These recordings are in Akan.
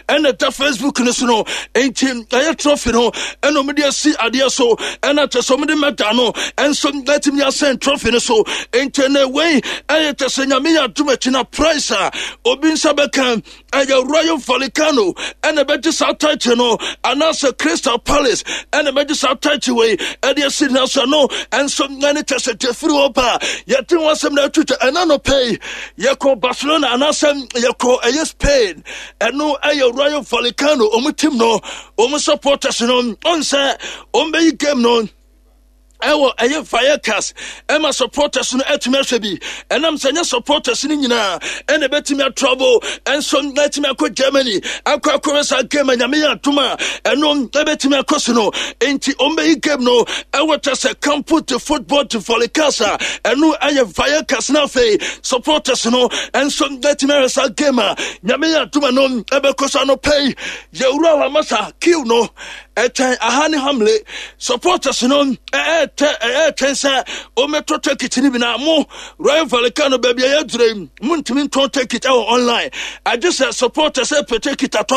Ɛna ɛda Facebook no so no. Nti ɛyɛ trophy no ɛna wɔde asi adeɛ so, ɛna kyɛ sɛ wɔde mɛda no ɛnso ɛtumi asɛn trophy no so. Nti ɛna wei ɛyɛ kyɛ sɛ Nyame yɛ adom akyi na price a obi nsa bɛka ɛyɛ Rayo Vallecano ɛna ɛbɛgye saa title no, anaasɛ Crystal Palace ɛna ɛbɛgye saa title wei ɛde asi na so. Ɛno ɛnso ɛne kyɛ sɛ gyefiri hɔ ba yɛte ho asɛm na atwitwa. Ɛna no pɛi yɛkɔ Barcelona anaasɛ yɛkɔ ɛyɛ Spain, ɛno ɛyɛ Rayo Vallecano ɔmo team no, ɔmo supporters no ɔn sɛ ɔmo bɛyi game no ɛwɔ ɛyɛ Vallecas ɛma supporters no atumi ahwɛ bi. Ɛnam sɛ nyɛ supporters no nyinaa ɛna ɛbɛtumi atravel ɛnso ɛtumi akɔ Germany akɔ akɔhwɛ saa game a Nyame yɛ adom a ɛno ɛbɛtumi akɔ so no. Nti ɔmbɛyi game no ɛwɔ kyɛ sɛ Campo de Football de Vallecas a ɛno ɛyɛ Vallecas, no afei supporters no ɛnso ɛtumi ahwɛ saa game a Nyame yɛ adom a no ɛbɛkɔ so. Anɔpɛ yi yɛwura Lamasa kiw no ɛkyɛn aha ne Hamle supporters no ɛɛtɛ ɛɛtwɛn sɛ wɔmɛtɔ ticket no bi. Na mo Rayo Vallecano, baabi a yɛadura yi, montumi ntɔn ticket ɛwɔ online, agye sɛ supporters ɛpɛ ticket atɔ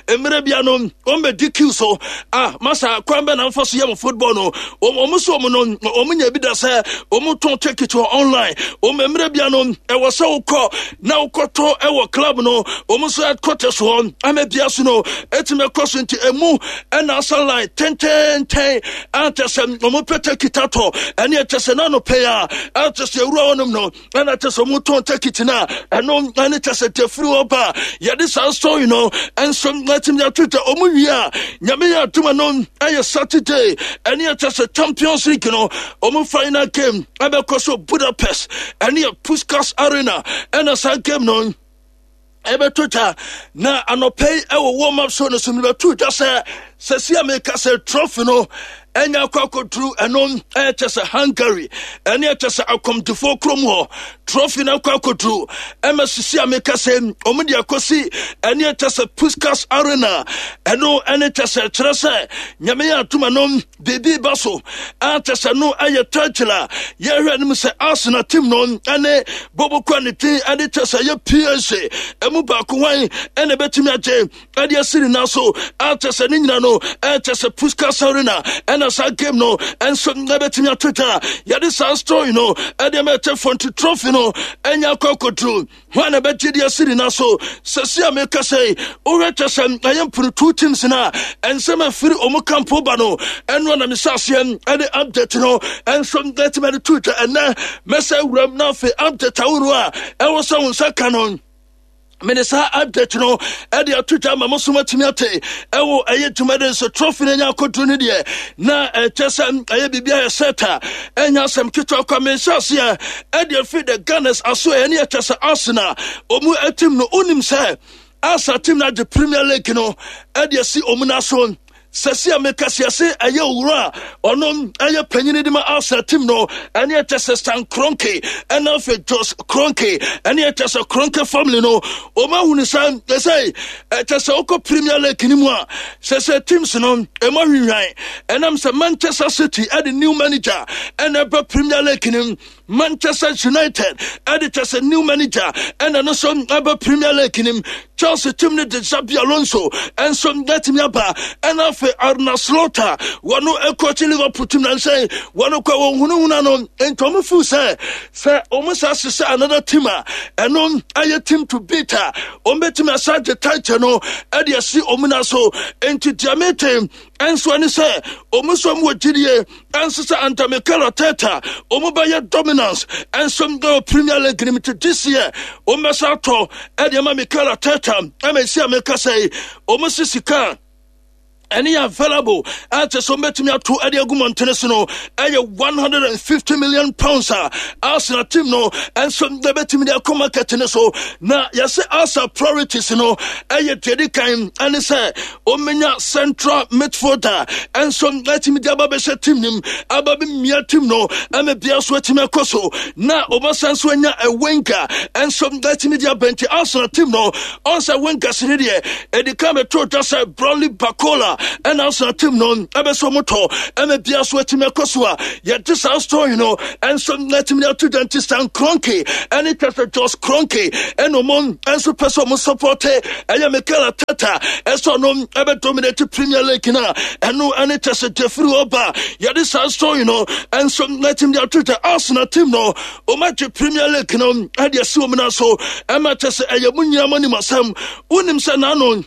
a mmerɛ bia no wɔmbɛdi queue so. Ah, masa kwan bɛ na mfa so yɛ mo football no? Wɔn so wɔn no wɔn nya bi da sɛ wɔn tɔn ticket wɔ online. Wɔn mmerɛ bia no ɛwɔ sɛ wokɔ na wokɔtɔ ɛwɔ club no wɔn nso headquarters hɔ ama bia so no ɛtumi ɛkɔ so. Nti emu ɛna asa line tɛntɛntɛn a kyɛ sɛ wɔn pɛ ticket atɔ. Ɛne ɛkyɛ sɛ n'ano pɛ a ɛkyɛ sɛ ewura hɔnom no ɛna kyɛ sɛ wɔn tɔn ticket na ɛno ɛne kyɛ sɛ tɛfiri hɔ ba yɛde saa story no ɛnso ɛtumi ato dwa. Wɔn wie a, Nyame yɛ adum no ɛyɛ Saturday, ɛne ɛkyɛ sɛ Champions League no wɔn final game ɛbɛkɔ so Budapest, ɛne yɛ Puskas Arena ɛna saa game no ɛbɛto dwa. Na anɔpɛ yi ɛwɔ warm up show no so mebɛto dwa sɛ sɛsi a meka sɛ trophy no ɛnya akɔ akɔduru ɛno ɛkyɛ sɛ Hungary, ɛne ɛkyɛ sɛ akɔmdifoɔ kurom hɔ. Trophy no akɔ akɔduru ɛma sisi a meka sɛ ɔmo de akɔsi ɛne ɛkyɛ sɛ Puskas Arena. Ɛno ɛne kyɛ sɛ kyerɛ sɛ Nyame yɛ adom no biribi ba so a kyɛ sɛ no ɛyɛ title a yɛhwɛ anim sɛ Arsenal team no ɛne bɔbɔkɔ ne din ɛde kyɛ sɛ ɛyɛ PSG ɛmu baako hwan ɛna ɛbɛtumi agye ɛde asi ne nan so a kyɛ sɛ ne nyina no ɛkyɛ sɛ Puskas Arena ɛna saa game no ɛnso ɛbɛtumi ato dwa. Yɛde saa story no ɛde ma ɛkyɛ fɔnti trophy no ɛnya akɔ akɔduru hwan na ɛbɛgye de asi ne nan so. Sɛsi a meka sɛ wohwɛ kyɛ sɛ ɛyɛ mpono two teams no a ɛnsɛm afiri ɔmo kampo ba no, ɛno na mehyɛ aseɛ ɛde update no ɛnso ɛtumi de to dwa. Ɛnɛ mɛsɛ wuram na afei update ahorow a ɛwɔ sɛ wo nsa ka no, mede saa update no ɛde ato dwa ma mo so matumi ate ɛwɔ ɛyɛ dwumadi nso. Trophy no anya akɔduru no deɛ na ɛkyɛ sɛ ɛyɛ biribi a yɛsɛ ta ɛnya asɛm ketewa kwa. Menhyɛ aseɛ ɛde afiri the Gunners aso, ɛne ɛkyɛ sɛ Arsenal ɔmu atim no. Wonim sɛ Arsenal team no agye Premier League no ɛde asi ɔmu no aso. Sɛsi a meka siase ɛyɛ owura a ɔno ɛyɛ panyini de ma Arsenal team no, ɛne ɛkyɛ sɛ Stan Kroenke ɛna afei Jos Kroenke, ɛne ɛkyɛ sɛ Kroenke family no ɔma ahunu sɛ ɛsɛ ɛkyɛ sɛ wokɔ Premier League no mu a sɛ teams no ɛma hwinhwan. Ɛnam sɛ Manchester City ɛde new manager ɛna ɛbɛ Premier League no, Manchester United ɛde kyɛ sɛ new manager ɛna no nso ɛbɛ Premier League nim, Chelsea team no de Xabi Alonso ɛnso ɛtumi aba, ɛna afei Arne Slot a wɔn ɛkɔkye Liverpool team na nsɛn wɔn kɔ wɔn hunahuna no. Nti wɔn feel sɛ wɔn sa hyehyɛ another team a ɛno ɛyɛ team to beat a wɔn bɛtumi asa gye title no ɛde asi wɔn na so. Nti deɛ mete ɛnso ɛne sɛ wɔn nso wɔn wɔ gyidie ɛnso sɛ under Mikel Arteta wɔn bɛyɛ dominance ɛnso ɛwɔ Premier League nim. Ti this year wɔn bɛsa atɔ ɛde ama Mikel Arteta ɛma esi a meka sɛ wɔn si sika ɛne yɛ available a kyɛ sɛ wɔbɛtumi ato ɛde agu mmɔntene so no ɛyɛ £150 million a Arsenal team no ɛnso ɛbɛtumi de akɔ market no so. Na yɛsɛ Arsenal priorities no ɛyɛ deɛ di kan ɛne sɛ ɔmmɛnya central midfielder ɛnso ɛtumi de aba bɛhyɛ team nim aba bɛmia team no ɛma bia so atumi akɔ so, na ɔbɛsan so anya a winger ɛnso ɛtumi de aba. Nti Arsenal team no ɔnsɛ wingers ne deɛ ɛdi kan bɛto dwa sɛ Bradley Barcola. ɛna Arsenal team no ɛbɛsɛ ɔmo tɔ ɛma bia so atumi akɔ so a yɛde saa story no ɛnso atumi ato dwa. Nti Stan Kroenke ɛne kyɛ sɛ Josh Kroenke ɛna ɔmo ɛnso pɛ sɛ ɔmo support ɛyɛ Mikel Arteta ɛsɛ ɔno ɛbɛ dominate Premier League na ɛno ɛne kyɛ sɛ Jeffrey Oba yɛde saa story no ɛnso atumi ato dwa. Arsenal team no ɔmo agye Premier League no ɛde asi wɔn nan so ɛma kyɛ sɛ ɛyɛ mo nyinaa mo anim asɛm. Wonim sɛ n'ano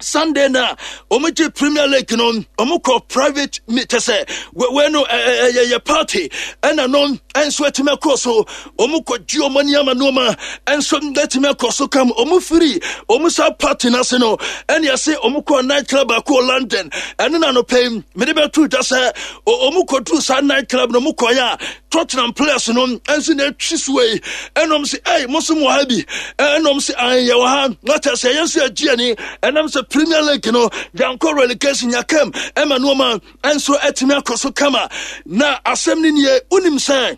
Sunday na wɔn gye Premier League no, wɔn kɔ private kyɛ sɛ wei no ɛyɛ yɛ party ɛna no nso atumi akɔ so. Wɔn kɔ gye wɔn ani ama nneɛma nso atumi akɔ so kam. Wɔn firi wɔn saa party n'ase no ɛne ɛse wɔn kɔ night club baako wɔ London. Ɛne na anɔpɛ yi mede bɛto dwa sɛ wɔn kɔ duru saa night club no wɔn kɔ yɛ a Tottenham players no nso na atwi so yi ɛnum sɛ ɛy mo nso mo wɔ ha bi, ɛnum sɛ an yɛ wɔ ha na kyerɛ sɛ yɛn nso yɛgye ani ɛnam sɛ Premier League no yankɔ relegation yakam ɛma nneɛma nso atumi akɔ so kama. Na asɛm no nie, wonim sɛ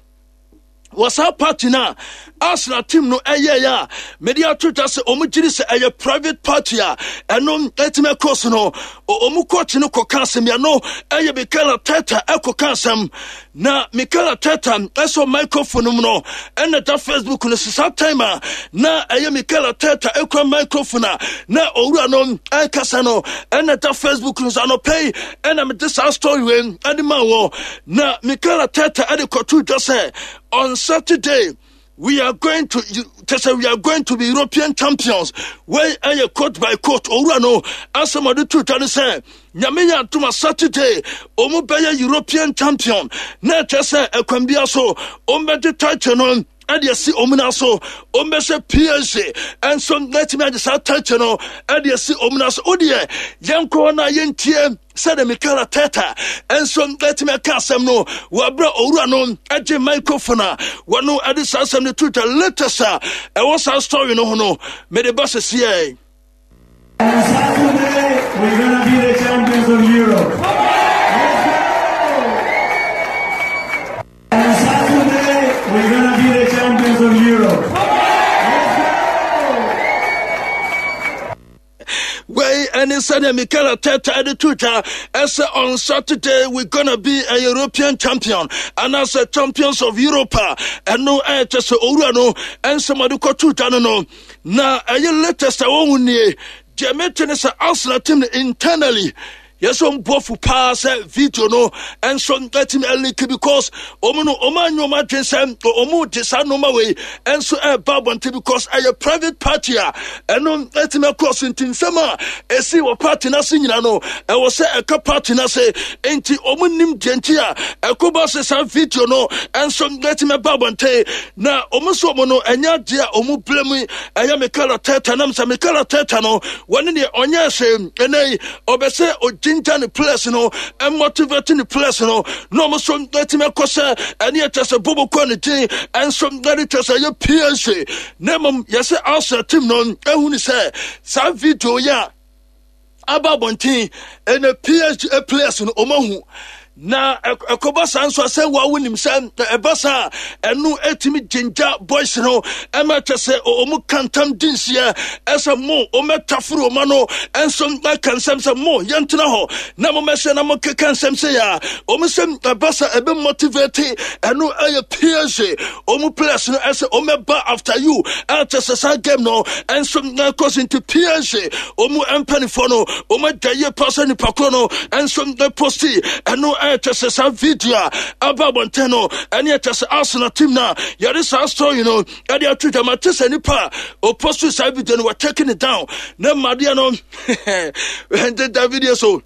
wɔ saa party no a Arsenal team no ɛyɛeɛ a mede ato dwa sɛ wɔn gyiri sɛ ɛyɛ private party a ɛno ɛtumi ɛkɔ so no, wɔn coach no kɔka asɛm yɛ no ɛyɛ Mikel Arteta ɛkɔka asɛm na Mikel Arteta ɛsɔ microphone mu no ɛna da Facebook no so. Saa time a na ɛyɛ Mikel Arteta ɛkura microphone a na owura no ɛkasa no ɛna da Facebook no so anɔpɛ yi ɛna mede saa story wei ɛde ma wɔ. Na Mikel Arteta ɛde kɔto dwa sɛ on Saturday we are going to kyɛ we are going to be European champions. Wei ɛyɛ quote by quote owura no asɛm ɔde to dwa no sɛ Nyame yɛ adom a Saturday ɔmo bɛyɛ European champion, na ɛkyɛ sɛ ɛkwan bia so ɔmo bɛgye title no ɛde asi ɔmo nan so. Ɔmo bɛhyɛ PSG ɛnso na ɛtumi agye saa title no ɛde asi ɔmo nan so. Wodeɛ yɛnkɔ na yɛntie sɛdeɛ Mikel Arteta ɛnso ɛtumi aka asɛm no wɔ abere owura no agye microphone a wɔno ɛde saa asɛm no to dwa. Latest a ɛwɔ saa story no ho no mede ba sɛsiɛ. On Saturday, we're gonna be the champions of Europe. Let's go! On Saturday, we're gonna be the champions of Europe. Let's go! Wei ɛne sɛdeɛ Mikel Arteta de to dwa ɛsɛ on Saturday we gonna be a European champion anaasɛ champions of Europe a ɛno ɛkyɛ sɛ owura no ɛnsɛm ɔde kɔto dwa no na ɛyɛ latest a wɔhu nie. Deɛ mete ne sɛ Arsenal team no internally yɛsɛ ɔmo bu paa sɛ video no ɛnso ɛtumi ɛleak because ɔmo no ɔmo anyɛ ɔmo adwene sɛ ɔmo de saa nneɛma wei ɛnso ɛɛba abɔnten because ɛyɛ private party a ɛno ɛtumi akɔ so. Nti nsɛm a ɛsi wɔ party n'ase nyina no ɛwɔ sɛ ɛka party n'ase, nti ɔmo nim deɛ nti a ɛkɔba sɛ saa video no ɛnso ɛtumi ɛba abɔnten. Na ɔmo nso ɔmo no ɛnyɛ adeɛ a ɔmo blame ɛyɛ Mikel Arteta, nam sɛ Mikel Arteta no wɔne deɛ ɔnyɛ hwee. Ɛnɛ yi ɔbɛ sɛ ɔgyingya ne players no, ɛmotivate ne players no na ɔmo nso ɛtumi akɔ sɛ ɛne ɛkyɛ sɛ bobo kɔ ne din ɛnso ɛde kyɛ sɛ ɛyɛ PSG. Na mmom yɛsɛ Arsenal team no ɛhu ne sɛ saa video yi a aba abɔnten ɛna PSG players no ɔmo ahu na ɛkɔba saa nso asɛ wa wonim sɛ ɛba saa ɛno ɛtumi gyingya boys no ɛma kyɛ sɛ ɔmo ka ntam di nseɛ ɛsɛ mo ɔmɛtaforo ɔma no ɛnso ɛka nsɛm sɛ mo yɛntena hɔ na momɛhyɛ na mokeka nsɛm sɛ yɛ a ɔmo sɛ ɛba sa ɛbɛ motivate ɛno ɛyɛ PSG ɔmo players no ɛsɛ ɔmɛba after you ɛkyɛ sɛ saa game no ɛnso ɛkɔ so. Nti PSG ɔmo mpanifoɔ no ɔmo agya yie pa sɛ nipa korɔ no ɛnso ɛposti ɛno ɛkyɛ sɛ saa video a aba abɔnten no ɛne ɛkyɛ sɛ Arsenal team no a yɛde saa story no ɛde ato dwama te sɛ nipa a ɔposti saa video no wɔtake it down na mmadeɛ no ɛnte da video so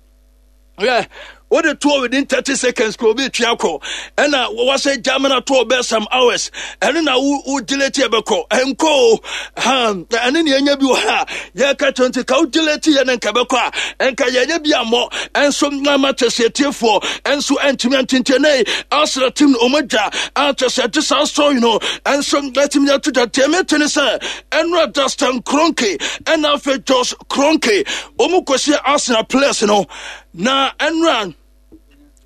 yeah wode toɔ within 30 seconds kò obi tua kɔ ɛna wɔsɛ german toɔ bɛ some hours ɛno na wo delete ɛbɛkɔ ɛnkɔ o ha. Ɛne ne ɛnya bi wɔ ha yɛka kyerɛ nti ka wo delete yɛ ne nka bɛkɔ a ɛnka yɛnyɛ bi ammɔ ɛnso nama kyɛ sɛ atiefoɔ ɛnso ɛntumi antintie ne Arsenal team no ɔmo adwa akyɛ sɛ ɛgye saa story no ɛnso ɛtumi ato dwa. Deɛ mete ne sɛ ɛnora Dustin Kroenke ɛna afei Josh Kroenke ɔmo kɔhyia Arsenal players no na ɛnora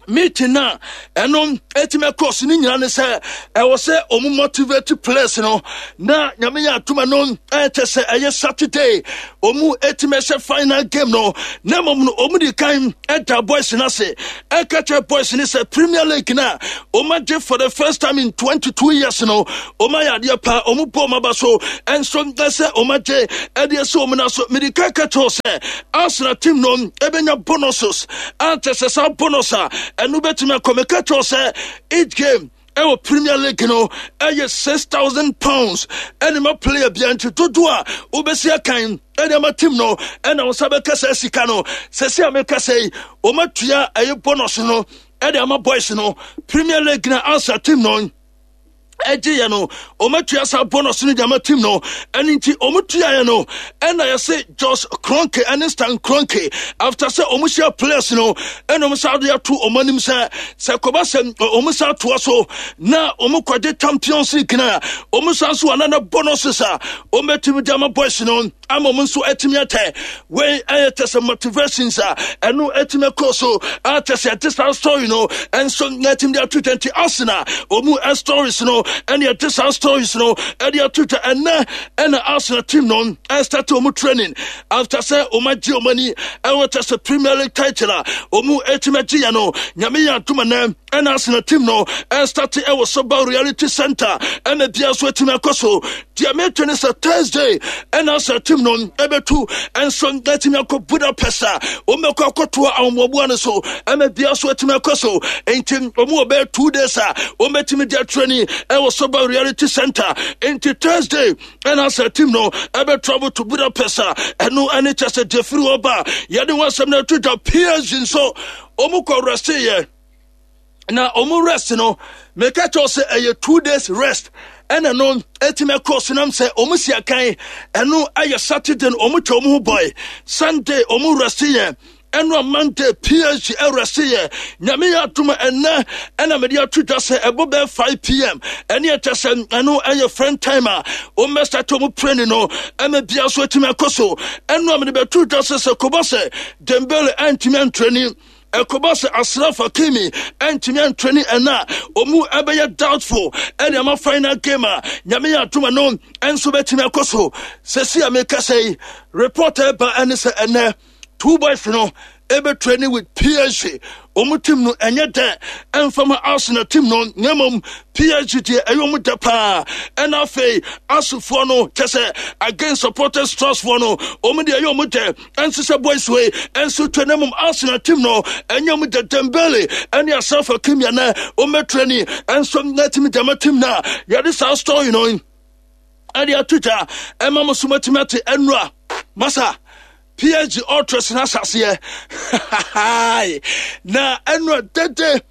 Meeting no a ɛno ɛtumi ɛkɔɔ so no nyinaa ne sɛ ɛwɔ sɛ ɔmo motivate players no na Nyame yɛ adom ɛno ɛkyɛ sɛ ɛyɛ Saturday ɔmo ɛtumi ɛhyɛ final game no, na mmom no ɔmo di kan ɛda boys no ase ɛka kyerɛ boys no sɛ Premier League no a ɔmo agye for the first time in 22 years no, ɔmo ayɛ adeɛ paa, ɔmo bɔ ɔmo aba so ɛnso ɛsɛ ɔmo agye ɛde ɛsɛ ɔmo na so. Mede ka ka kyerɛ sɛ Arsenal team no ɛbɛnya bonuses a kyɛ sɛ saa bonus a ɛno bɛtumi akɔ. Meka kyerɛ sɛ each game ɛwɔ Premier League no ɛyɛ £6,000 ɛne ma player bia, nti dodoɔ a wobɛsi akan ɛne ama team no ɛna wo nsa bɛka saa sika no. Sɛsi a meka sɛ yi, wɔmatua ɛyɛ bonus no ɛde ama boys no. Premier League na Arsenal team no ɛgye yɛ no, ɔmatua saa bonus no de ama team no. Ɛno nti ɔmo tuaeɛ no ɛna yɛse Josh Kroenke ɛne Stan Kroenke, after sɛ ɔmo hyia players no, ɛna ɔmo sa de ato ɔmo anim sɛ sɛ kɔba sɛ ɔmo sa atoa so na ɔmo kɔgye Champions League na ɔmo sa nso anana bonuses a ɔmo bɛtumi de ama boys no ama ɔmo nso atumi atɛ. Wei ɛyɛ kyɛ sɛ motivations a ɛno atumi akɔ so a kyɛ sɛ ɛte saa story no ɛnso na atumi de ato dwa. Nti Arsenal ɔmu stories no ɛne ɛte saa stories no ɛde ato dwa. Ɛnɛ ɛna Arsenal team no ɛstart ɔmu training after sɛ ɔmu agye ɔmu ani ɛwɔ kyɛ sɛ Premier League title a ɔmu atumi agye yɛ no. Nyame yɛ adom, ɛnɛ ɛna Arsenal team no ɛstart ɛwɔ Soba Reality Center, ɛna bia so atumi akɔ so. Deɛ mete ne sɛ Thursday ɛna sɛ team no ɛbɛtu ɛnso atumi akɔ Budapest a wɔbɛkɔ akɔtoa ahoboaboa no so, ɛma bia so atumi akɔ so. Nti wɔn wɔ bɛyɛ 2 days a wɔbɛtumi de atraining ɛwɔ Soba Reality Center. Nti Thursday ɛna sɛ team no ɛbɛ travel to Budapest a ɛno ɛne kyɛ sɛ deɛ firi hɔ ba yɛde wɔn asɛm no ato dwa. PSG nso wɔn kɔ rest yɛ na ɔmo rest no, meka kyerɛw sɛ ɛyɛ 2 days rest ɛna no ɛtumi ɛkɔ so nam sɛ ɔmo si akan. Ɛno ɛyɛ Saturday no ɔmo twɛ ɔmo ho bɔe, Sunday ɔmo rest yɛ, ɛno a Monday PSG ɛrest yɛ. Nyame yɛ adom, ɛnɛ ɛna mede ato dwa sɛ ɛbɔ bɛɛ 5 p.m., ɛne ɛkyɛ sɛ ɛno ɛyɛ French time a ɔmmɛstart ɔmo training no, ɛma bia so atumi akɔ so. Ɛno a mede bɛto dwa sɛ sɛ kɔbɔ sɛ Dembele ɛntumi antraining, ɛkɔba sɛ Achraf Hakimi ɛntumi antraining ɛna ɔmu ɛbɛyɛ doubtful ɛne ama final game a Nyame yɛ adom no ɛnso bɛtumi akɔ so. Sɛsi a meka sɛ yi, report ɛba ɛne sɛ ɛnɛ two boys no ɛbɛ training with PSG ɔmo team no. Ɛnyɛ dɛ ɛmfama Arsenal team no, na mmom PSG deɛ ɛyɛ ɔmo dɛ paa. Ɛna afei asofoɔ no kyɛ sɛ against supporters trust foɔ no, ɔmo deɛ ɛyɛ ɔmo dɛ ɛnso sɛ boys wei ɛnso twɛ, na mmom Arsenal team no ɛnyɛ ɔmo dɛ. Dembele ɛne Achraf Hakimi ɛnɛ ɔmo bɛ training ɛnso na team dɛm team na yɛde saa story no ɛde ato dwa ɛma mo so matumi ate. Ɛnura masa PSG ultras no ahyɛseɛ na ɛnura dede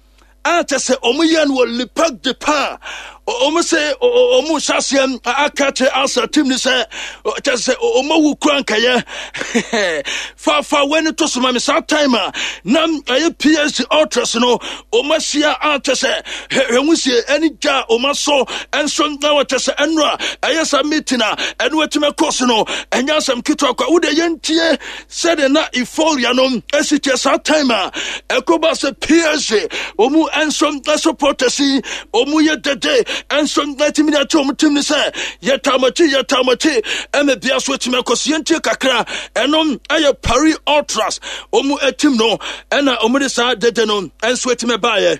a kyɛ sɛ ɔmo yɛ no wɔ Le Parc de Paris. Ɔmo sɛ ɔmo hyɛ aseɛ aka kyerɛ Arsenal team ni sɛ kyɛ sɛ ɔmo awu kura nkɛyɛ fafa wei no to so ma me. Saa time a na ɛyɛ PSG ultras no ɔmo ahyia a kyɛ sɛ hwɛ ho sie ɛne gya a ɔmo asɔ ɛnso na wɔkyɛ sɛ ɛno a ɛyɛ saa meeting a ɛno atumi akɔ so no, ɛnyɛ asɛm ketewa kwa. Wode yɛntie sɛdeɛ na euphoria no asi kyɛ saa time a ɛkɔba sɛ PSG ɔmu nso supporters yi ɔmu yɛ dede nso atumi de akyɛ ɔmu team no sɛ yɛtaa mo akyi, yɛtaa mo akyi, ɛma bia so atumi akɔ so. Yɛntie kakra, ɛno ɛyɛ Paris Ultras ɔmu team no ɛna ɔmu de saa dede no nso atumi baeɛ.